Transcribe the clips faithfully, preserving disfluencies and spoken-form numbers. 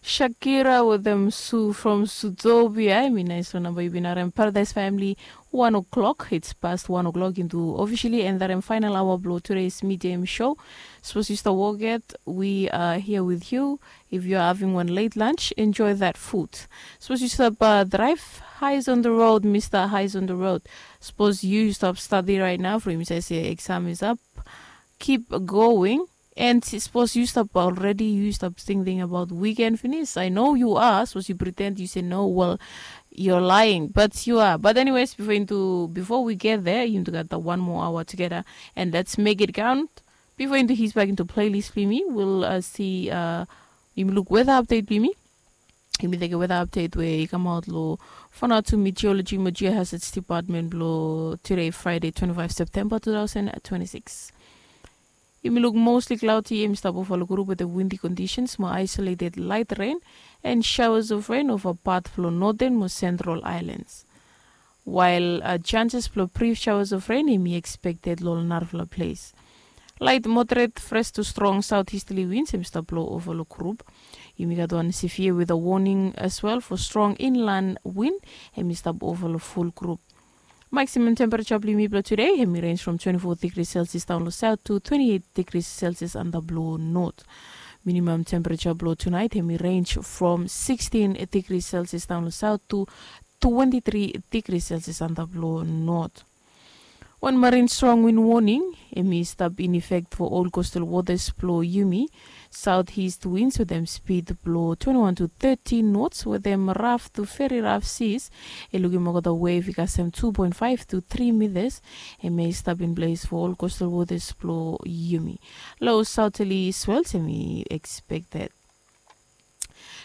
Shakira with them Sue from Sutobi. I mean, nice number. You've been around Paradise Family. One o'clock. It's past one o'clock into officially and that final hour below today's midday show. Suppose you start work yet. We are here with you. If you are having one late lunch, enjoy that food. Suppose you stop uh, drive. Highs on the road, Mister Highs on the road. Suppose you stop study right now. For him, say, say exam is up. Keep going. And suppose you stop already, you stop thinking about weekend finish. I know you are. Suppose you pretend you say no. Well, you're lying, but you are. But anyways, before into before we get there, you got the one more hour together, and let's make it count. Before into his back into playlist, Plimi, we'll uh, see. Uh, you look weather update, Plimi. Yumi teke weather update we i kamaot lo Vanuatu Meteorology mo Geohazards Department blo today, Friday, twenty-five September two thousand twenty-six. Yumi luk mostly cloudy, yumi stap ova lo group with the windy conditions mo isolated light rain and showers of rain ova part blo northern mo central islands. While uh, chances blo brief showers of rain yumi expected lo narafala place. Light moderate fresh to strong southeasterly winds em stap blo ova lo group. Yumi gat one severe weather warning as well for strong inland wind em stap ova lo full group. Maximum temperature blo yumi blo today em range from twenty-four degrees Celsius down lo south to twenty-eight degrees Celsius under blo north. Minimum temperature blo tonight em range from sixteen degrees Celsius down lo south to twenty-three degrees Celsius under blo north. Wan marine strong wind warning em i stap in effect for all coastal waters blo yumi. Southeast winds with them speed blo twenty-one to thirty knots with them rough to very rough seas. E lukim olgeta wave i kasem two point five to three meters. Em i stap in place for all coastal waters blo yumi. Low southerly swells em i expected.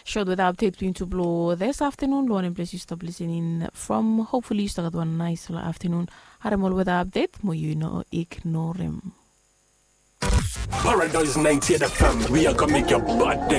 Short weather update blo yumi tu blo this afternoon lo wanem ples yu stap listening from. Hopefully yu stap gat wan nice lo afternoon. Harem ol weather update mo yu no ignorem. Paradise ninety-eight F M, we are gonna make your bad day